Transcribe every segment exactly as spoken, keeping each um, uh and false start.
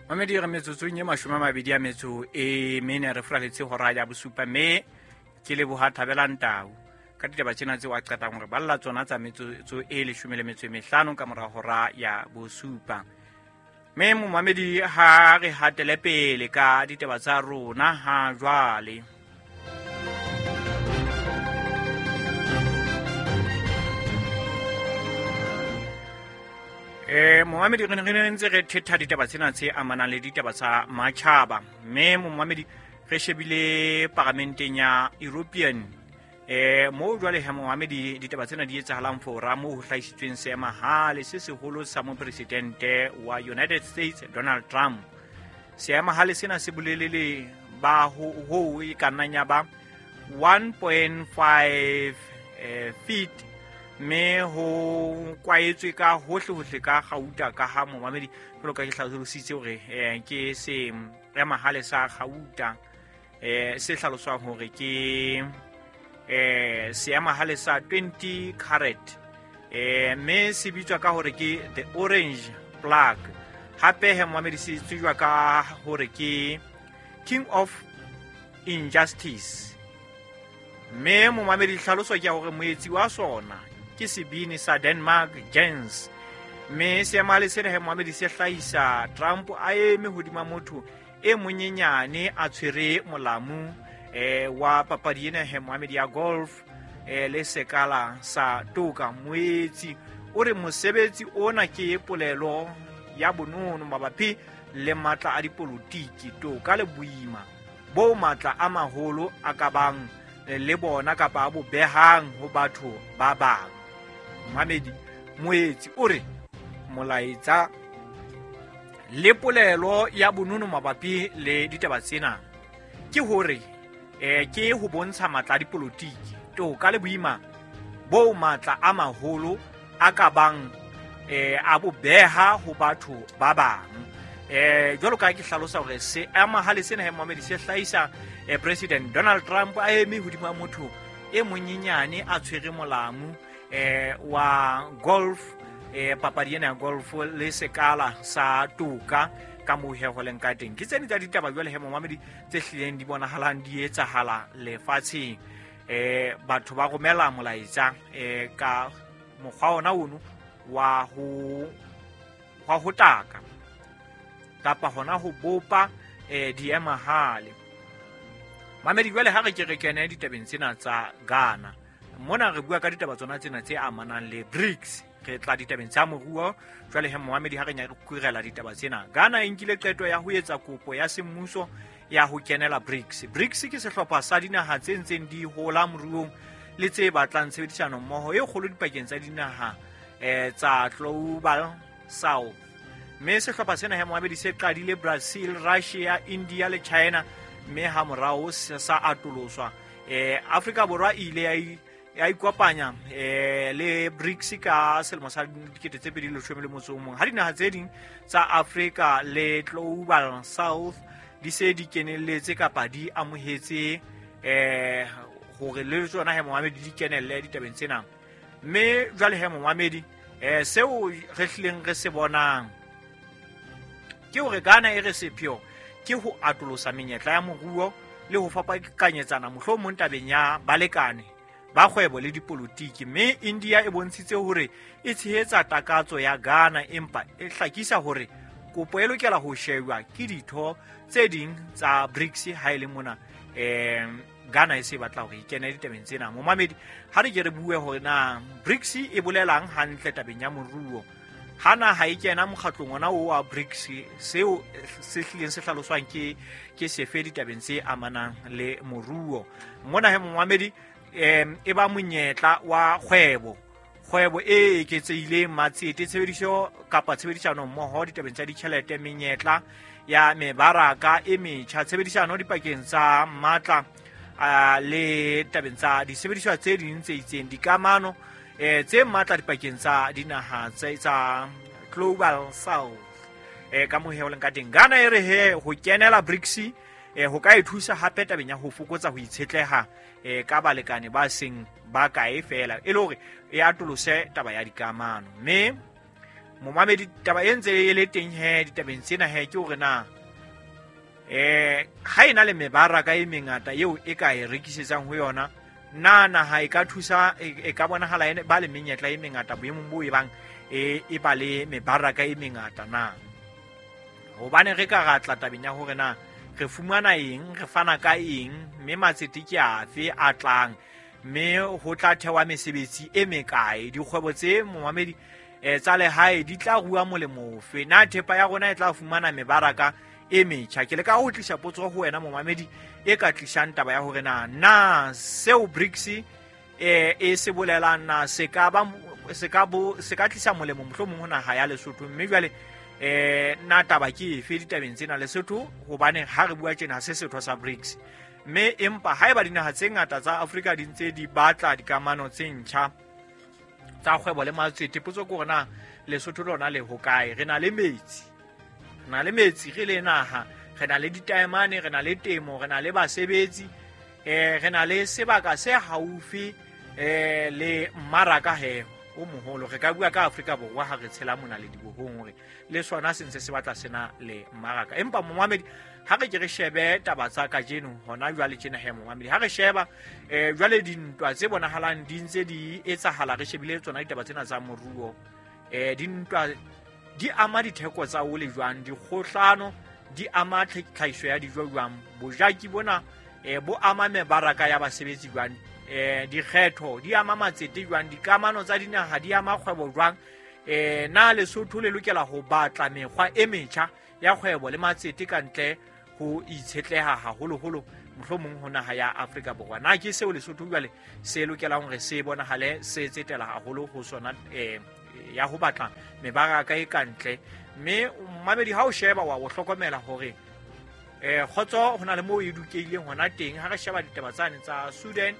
Mamedi re metsotsong e mashome a mabedi a metso e mene re furaletse hora ya bosupa, mme ke leboha Thabelang Tau ka ditaba tsena tseo a qetang hore balla tsona tsa metsotso e leshome le metso e mehlano ka mora hora ya bosupa. Mme momamedi ha re hatele pele ka ditaba tsa rona ha jwale. Eh momamedi re ne re ntse re thetha ditaba tsena tse amanang le ditaba tsa matjhaba, mme momamedi re shebile paramenteng ya European eh mo jwale ha momamedi ditaba tsena di etsahalang fora mo ho hlahisitsweng seemahale se seholo sa mopresidente wa United States Donald Trump. Seemahale sena se bolelele ba ho ho e ka nnang ya ba one point five eh, feet, mme ho kwaetswe ka hohle hohle ka gauta ka ha momamedi jwalo ka ke hlalositse hore eh, ke seemahale sa gauta eh se hlaloswang hore ke eh seemahale sa twenty carat eh mme se bitswa ka hore ke the orange plug. Hape he momamedi se tsejwa ka hore ke king of injustice, mme momamedi hlaloso ke ya hore moetsi wa sona ke sebini sa Denmark Jens. Mme seemahale sena he momamedi se hlahisa Trump a eme hodima motho e monyenyane a tshwere molamu eh wa papadi ena he momamedi ya golf eh le sekala sa toka. Moetsi o re mosebetsi ona ke polelo ya bonono mabapi le matla a dipolotiki, toka le boima bo matla a maholo a ka bang le bona kapa a bo behang ho batho ba bang. Mamedi moetsi o re molaetsa le polelo ya bonono mabapi le ditaba tsena ke hore eh ke ho bontsha matla a dipolotiki, toka le boima bo matla a maholo a ka bang eh a bo beha ho batho ba bang. Eh jwalo ka ke hlalosa hore se amahale sena he momamedi se hlahisa eh, President Donald Trump a eme hodima motho e monyenyane a tshwere molamu eh wa golf eh papadi ena ya golf le sekala sa toka ka moo he ho leng ka teng. Ke tsene tsa ditaba jwale he momamedi tse hlileng di bonahalang di etsahala lefatsheng. Eh batho ba romela molaetsa eh ka mokgwa ona ono wa ho wa ho taka kapa hona ho bopa eh diemahale. Mamedi jwale ha re ke re kene ditabeng tsena tsa Ghana. Mona re bua ka ditaba tsona tsena tse amanang le BRICS. Re tla ditabeng tsa moruo jwale he momamedi ha re nya re kurela ditaba tsena. Ghana e nkile qeto ya ho etsa kopo ya semmuso ya ho kenela BRICS. BRICS ke sehlopha sa dinaha tse ntseng di hola moruong le tse batlang tshebedisano mmoho e kgolo dipakeng tsa dinaha eh tsa Global South. Mme sehlopha sena he momamedi se qadile Brazil, Russia, India le China, mme ha morao sa atoloswa. Eh Afrika Borwa e ile ya ya ikopanya eh le BRICS ka selemo sa dikete tse pedi le leshome le motso o mong. Ha dinaha tse ding tsa Afrika le Global South di se di kenelletse kapa di amohetse eh hore le tsona he momamedi di kenelle ditabeng tsena. Mme jwale he momamedi eh seo re hlileng re se bonang ke hore Ghana e re sepheo ke ho atolosa menyetla ya moruo le ho fapakanyetsana mohlomong tabeng ya balekane ba kgwebo le dipolotiki. Mme India e bontshitse hore e tshehetsa takatso ya Ghana, empa e hlakisa hore kopo e lokela ho shejwa ke ditho tse ding tsa BRICS ha e le mona eh Ghana e se batla hore e kene ditabeng tsena. Momamedi ha re ke re bue hore na BRICS e bolelang hantle tabeng ya moruo. Ha naha e kena mokgatlong ona o wa BRICS, seo se hlileng se hlaloswang ke ke sefe ditabeng tse amanang le moruo. Mona he momamedi em e ba monyetla wa kgwebo kgwebo e eketsehileng, matsete, tshebediso kapa tshebedisano mmoho ditabeng tsa ditjhelete, menyetla ya mebaraka e metjha, tshebedisano dipakeng tsa matla le tabeng tsa disebediswa tse ding tse itseng, dikamano eh tse matla dipakeng tsa dinaha tse tsa Global South. Eh ka mohe ho leng ka teng Ghana e re he ho kenela BRICS eh ho ka e thusa hape tabeng ya ho fokotsa ho itshetleha eh ka balekane ba seng ba kae fela, e le hore e atolose taba ya dikamano. Mme Momamedi, taba e ntse e le teng he ditabeng tsena he ke hore na eh ha ena le mebaraka e mengata eo e ka e rekisetsang ho yona, na naha e ka thusa e ka bonahala ene ba le menyetla e mengata boemong bo e bang e e ba le mebaraka e mengata na. Hobane re ka ratla tabeng ya hore na re fumana eng, re fana ka eng, mme matsete ke afe a tlang, mme ho tla thewa mesebetsi e mekae, dikgwebo tse momamedi eh tsa lehae di tla rua molemo ofe, na thepa ya rona e tla fumana mebaraka e metjha. Ke le ka ho tlisa potso ho wena momamedi e ka tlisang taba ya hore na na seo BRICS eh e se bolelang na se ka ba se ka bo se ka tlisa molemo mohlomong ho naha ya Lesotho, mme jwale eh na taba ke efe ditabeng tsena Lesotho, hobane ha re bua tjena se setho sa BRICS, mme empa haeba dinaha tse ngata tsa Afrika di ntse di batla dikamano tse ntjha tsa kgwebo le matsete, potso ke hore na Lesotho lona le hokae. Re na le metsi, re na le metsi re le naha, re na le ditaemane, re na le temo, re na le basebetsi, eh re na le sebaka se haufi eh le mmaraka he o moholo. Re ka bua ka Afrika Borwa ha re tshela mona le dibohong hore le sona se ntse se batla sena le mmaraka. Empa momamedi, ha re ke re shebe taba tsa kajeno hona jwale tjena he momamedi, ha re sheba eh jwale dintwa tse bonahalang di ntse di etsahala, re shebile tsona ditaba tsena tsa moruo, eh dintwa di ama ditheko tsa ole jwang, dikgohlano di ama tlhahiso ya dijo jwang, bojaki bona eh bo ama mebaraka ya basebetsi jwang, eh dikgetho di ama matsete jwang, dikamano tsa dinaha di ama kgwebo jwang, eh na Lesotho le lokela ho batla mekgwa e metjha ya kgwebo le matsete ka ntle ho itshetleha haholoholo mohlomong ho naha ya Afrika Borwa. Na ke seo Lesotho jwale se lokelang hore se bonahale se tsetela haholo ho sona eh ya ho batla mebaraka e kantle. Mme mamedi ha o sheba wa o hlokomela hore eh kgotso hona le moo e dukeileng hona teng. Ha re sheba ditaba tsane tsa Sudan,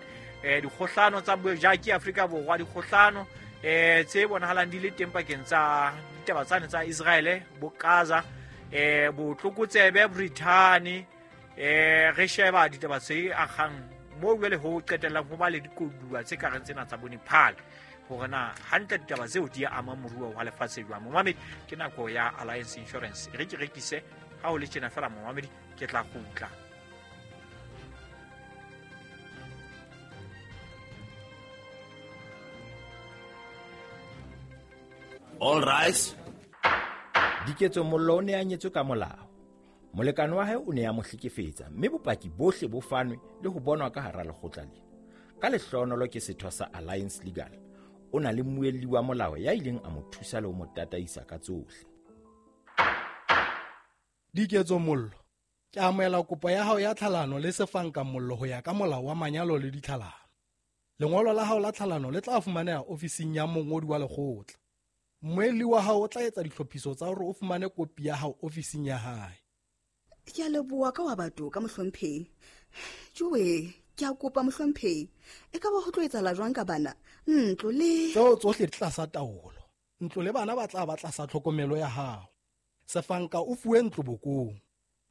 eh dikgohlano tsa bojaki Afrika Borwa, dikgohlano eh tse bonahalang di le teng pakeng tsa ditaba tsane tsa Israel bo Gaza, eh botlokotsebe Britain, eh re sheba ditaba tse akgang moo jwale ho qetellang ho ba le dikoduwa tse ka reng tsena tsa bo Nepal, hore na hantle ditaba tseo di ama moruo wa lefatshe jwang. Momamedi, ke nako ya Alliance Insurance, re ke rekise ha o le tjena fela momamedi, ke tla kgutla. All rise. Diketso Mollo o ne a nyetswe ka molao. Molekane wa hae o ne a mo hlekefetsa, mme bopaki bohle bo fanwe le ho bonwa ka hara lekgotla lena. Ka lehlohonolo ke setho sa Alliance Legal, o na le mmuelli wa molao ya ileng a mo thusa le ho mo tataisa ka tsohle. Diketso Mollo, ke amohela kopo ya hao ya tlhalano le Sefanka Mollo ho ya ka molao wa manyalo le ditlhalano. Lengolo la hao la tlhalano le tla fumaneha ofising ya mongodi wa lekgotla. Mmuelli wa hao o tla etsa ditlhophiso tsa hore o fumane kopi ya hao ofising ya hae. Ke a leboha ka wa batho ka mohlomphehi. Jowe, ke a kopa mohlomphehi, e ka ba ho tlo etsahala jwang ka bana? Ntlo le tseo tsohle di tlasa taolo. Ntlo le bana ba tla ba tlasa tlhokomelo ya hao. Sefanka o fuwe ntlo bokong.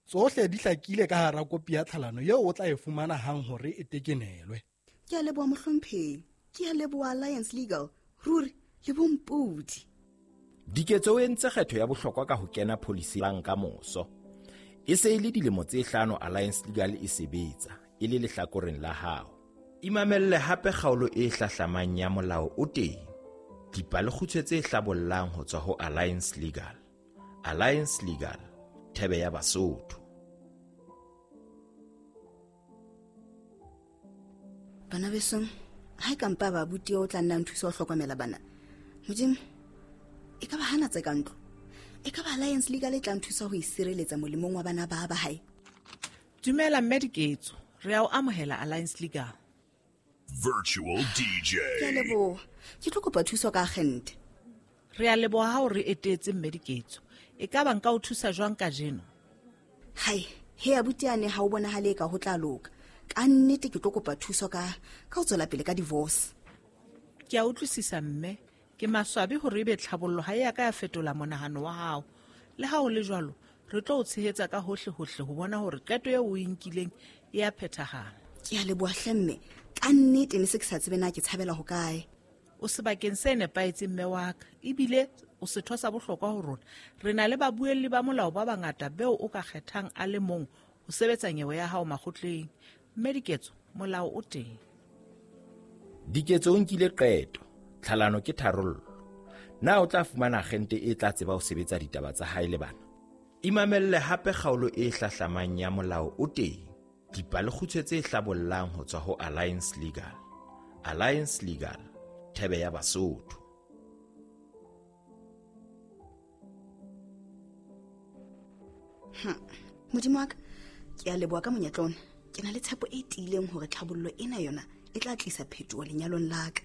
Tsohle di hlakile ka hara kopi ya tlhalano eo o tla e fumana hang hore e tekenelwe. Ke a leboha mohlomphehi, ke a leboha Alliance Legal, ruri le bompodi. Diketso o entse kgetho ya bohlokwa ka ho kena policy lang ka moso. E se e le dilemo tse hlano Alliance Legal e sebetsa e le lehlakoreng la hao. Imamelle hape kgaolo e hlahlamang ya molao o teng. Dipalekgutshwe tse hlabollang ho tswa ho Alliance Legal. Alliance Legal, thebe ya Basotho. Bana besong, ha e ka mpa ba abuti o tla nna nthusa ho hlokomela bana. Modimo, e ka ba hana tse ka ntlo. E ka ba Alliance Legal e tla nthusa ho isireletsa molemong wa bana ba ba hae. Dumela mme Diketso, re a o amohela Alliance Legal. Virtual D J. Ke a leboha. Ke tlo kopa thuso ka agente. Re a leboha ha o re etetse mme Diketso. E ka ba nka o thusa jwang kajeno? Hai, he abuti ane ha o bonahale ka ho tla loka. Ka nnete ke tlo kopa thuso ka ka ho tswela pele ka divorce. Ke a utlwisisa mme. Ke maswabi hore ebe tlhabollo ha e ya ka ya fetola monahano wa hao. Le ha o le jwalo, re tlo o tshehetsa ka hohle hohle ho bona hore qeto eo o e nkileng e a phethahala. Ke a leboha hle mme. Ka nnete ne se ke sa tsebe na ke tshabela hokae. O sebakeng se nepahetseng mme wa ka, ebile o o setho sa bohlokwa ho rona. Re na le babuelli ba molao ba bangata beo o ka kgethang a le mong ho sebetsa nyewe ya hao makgotleng. Mme Diketso, molao o teng. Diketso o nkile qeto, tlhalano ke tharollo. Na o tla fumana agente e tla tseba ho sebetsa ditaba tsa hae le bana? Imamelle hape kgaolo e hlahlamang ya Molao o Teng, dipalekgutshwe tse hlabollang ho tswa ho Alliance Legal. Alliance Legal, thebe ya Basotho. Hm. Modimo wa ka, ke a leboha ka monyetla ona. Ke na le tshepo e tiileng hore tlhabollo ena yona e tla tlisa phetoho lenyalong la ka.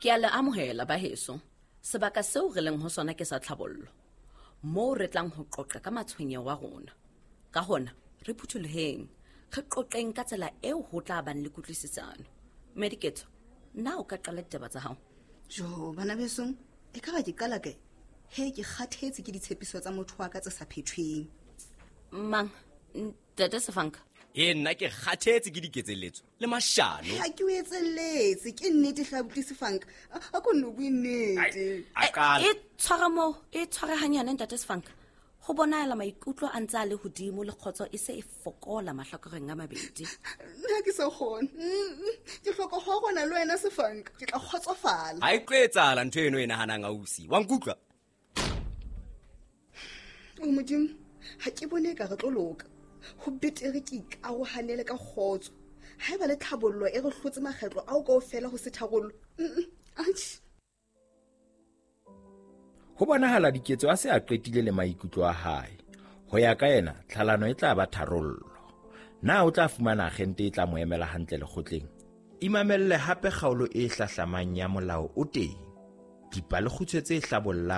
Ke a le amohela baheso. Sebaka seo re leng ho sona ke sa tlhabollo, moo re tlang ho qoqa ka matshwenyeho a rona. Ka hona, re phuthuloheng, re qoqeng ka tsela eo ho tla bang le kutlwisisano. Mme Diketso, na o ka qala ditaba tsa hao? Jo, bana besong, e ka ba ke qala kae? He, ke kgathetse ke ditshepiso tsa motho wa ka tse sa phethweng. Mang, ntate Sefanka? E nna ke kgathetse ke diketselletso le mashano. Ha ke o etselletse, ke nnete hle abuti Sefanka. A ko nno bue nnete. A qala. E tshwara moo, e tshware hanyane ntate Sefanka. Ho bonahala maikutlo a ntse a le hodimo le kgotso e se e fokola mahlakoreng a mabedi. Nna ke sa kgone. Ke hloka ho rona le wena Sefanka, ke tla kgotsofala. Ha e tlo etsahala ntho eno e nahanang ausi. Wa nkutlwa? O Modimo, ha ke bone ka re tlo loka. Ho betere ke ikarohanele ka kgotso. Haeba le tlhabollo e re hlotse makgetlo ao kaofela ho se tharollo. Atjhe. Ho bonahala Diketso a se a qetile le maikutlo a hae. Ho ya ka yena, tlhalano e tla ba tharollo. Na o tla fumana agente e tla mo emela hantle lekgotleng? Imamelle hape kgaolo e hlahlamang ya Molao o Teng, dipalekgutshwe tse hlabollang